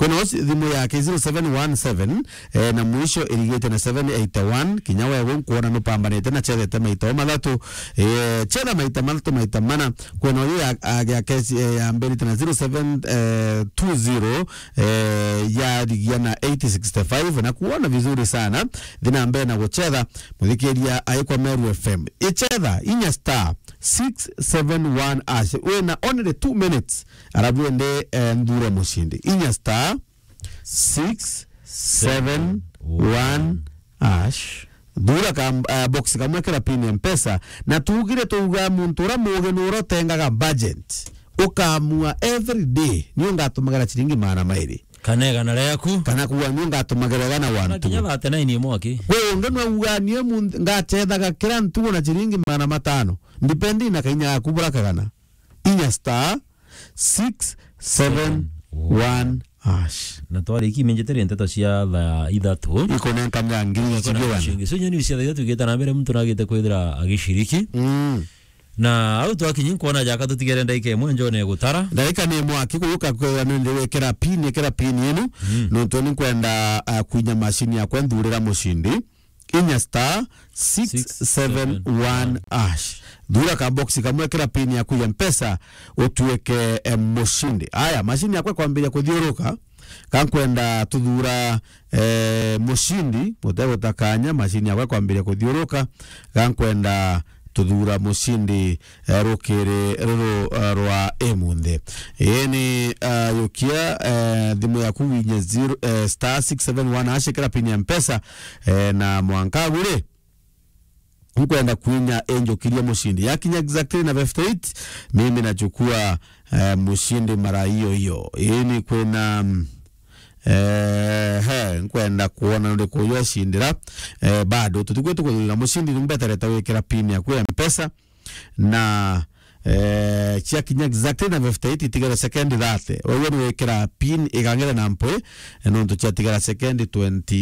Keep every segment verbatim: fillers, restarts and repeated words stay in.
no thimu yake zero seven one seven, eh, na mwisho irigite na seven eight one, kinya wewe nkuona nupambanite na chethete maita o mathatu, eh, chetha maita mathatu, maita mana, kwena uyu ya, a, ya kesi, eh, ya mbere tena zero seven two zero, eh, yarigia na eight sixty-five, na kuona vizuri sana, thi na mbere na guchetha, muthikiria aikwa Meru F M. Ichetha, inya star six seven one hash. Wina only two minutes, arabu ende, eh, nthure mushindi. Inya star six seven one hash. Thura ka, eh, box kamwe kira pin ya Mpesa. Na tugire tuuga muntu ura mugi nura utengaga budget. Ukamua every day, ni ungatumagira ciringi magana mairi. Kana igana riaku. Kana kuuga ni ungatumagira igana one two. Kinya thirty-nine imwe aki. Kwi ungi nwe uga ni muntu ngachethaga kira ntugo na ciringi magana matano. Depending na kainya gaku bura kagana. Inya star six seven one hash. Na twarikia imenjeteria nteto cia thaa ithatu. Ikonenka mea ngiri icigirana. Ciringi. So, nyeni cia thaa ithatu igita na mbere, muntu nagite kwithira agiciriki. Mm. Na au twakinyi nkwona jaka tutigere ndaika imwe njone gutara. Ndaika ni imwe aki kuuka kwira ni ndi wikira pin, ikira pin inu. Mm. Nontu ni nkwenda, ah, kwinya mashini yakwa nthurira mushindi. Inya star six seven one hash. Thura ka box kamwe, kira pin yaku ya Mpesa, utuike, eh, mushindi. Aya, mashini yakwa kwambiria kuthiuruka, ka nkwenda tuthura, eh, mushindi, mutegutakanya, mashini yakwa kwambiria kuthiuruka, ka nkwenda tuthura mushindi, eh, rukiri ruru, eh, rwa imunthi. Ii ni, eh, yukia, eh, thimu yaku winye zero, eh, star six seven one hash, ikira pin ya Mpesa, eh, na mwanka aguri nkwenda kwinya injukirie mushindi. Yakinya exactly na fifty-eight, mimi nachukua, eh, mushindi mara hiyo hiyo. Ii ni kwina, mm, eh, he, nkwenda kuona nuriku uyu acindira. Eh, bado tutigwe tukuthurira mushindi, nimbeterete wikira pin yaku ya Mpesa. Na, eh, ciakinya exactly na fifty-eight, itigere second thirty. Wewe ni wikira pin igang'ire na mpwi, eh, nontu ciatigara second twenty,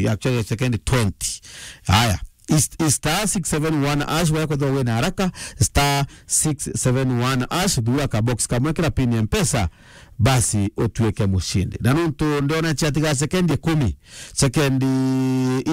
actually second twenty. Aya, is, is star six seven one hash, wewe kwethirwa wina haraka, star six seven one hash, thura ka box kamwe, kira pin ya Mpesa, basi utuike mushindi. Na nontu ndiona ciatigara sekendi ikumi, sekendi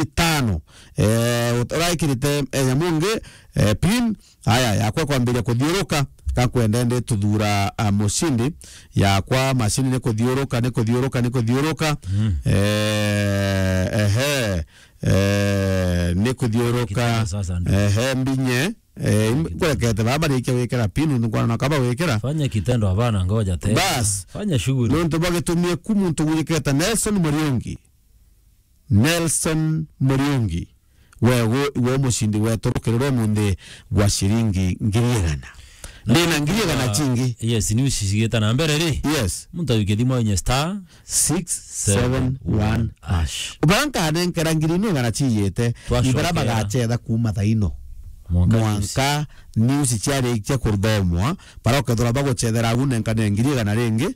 itano, eh, ut-, uraikirite, eh, nyamu ngi, eh, pin, aya, yakwa kwambiria kuthiuruka, ka nkwenda ndi tuthura, ah, mushindi, yakwa mashini ni kuthiuruka, ni kuthiuruka, ni kuthiuruka. Mm. Eh, ehe, eh, ni kuthiuruka. Kitana sasa ndio. Ehe, mbinye. Eh, im-, Kitendo. Ngwekete baba rikia wikira pin, nontu nkwana na kaba wikira. Fanya kitendo, hapana, ngoja tena. Bas. Fanya shughuli. Nontu bagitumie ku muntu gwiketa Nelson Muriungi. Nelson Muriungi. Wewe, iwe mushindi wetu rukiri rwa munthi gwa ciringi ngiri igana. Ndina ngiri igana cingi. Yes, ni ucicigita na mbere ri. Yes. Muntu ayuke thimu inye star six seven one hash. Bara nkanenkera ngiri ino igana ciiyite, ibara bagacetha kuuma thaino. Mwanka news. Mwanka news ciarikia kuthomwa, bara ukethira bagucethera agu nenkane ngiri igana ringi,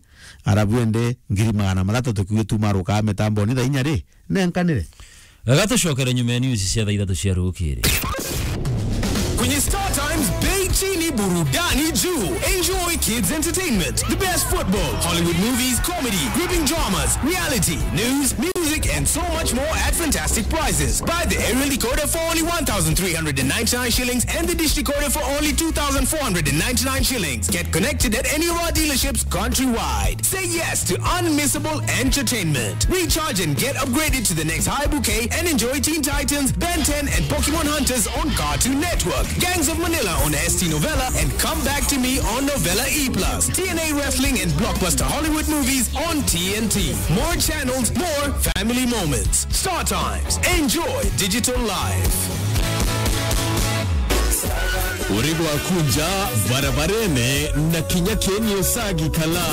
arabu ende ngiri magana mathatu tukiuge tumarukaa mitamboni thaa inya ri, nenkanire. Wega, tucokere nyuma ya news cia thaa ithatu cia rukiri. Kwenye Star Times, bei chini, burudani juu. Enjoy kids entertainment, the best football, Hollywood movies, comedy, gripping dramas, reality, news, music, and so much more at fantastic prices. Buy the aerial decoder for only one thousand three hundred and ninety-nine shillings and the dish decoder for only two thousand four hundred and ninety-nine shillings. Get connected at any of our dealerships countrywide. Say yes to unmissable entertainment. Recharge and get upgraded to the next high bouquet and enjoy Teen Titans, Ben ten, and Pokemon Hunters on Cartoon Network, Gangs of Manila on S T Novella, and Come Back to Me on Novella E plus, T N A Wrestling and blockbuster Hollywood movies on T N T. More channels, more family moments. Star Times. Enjoy digital life. Uri gwaku nja barabarene na kinya keni usagi kala.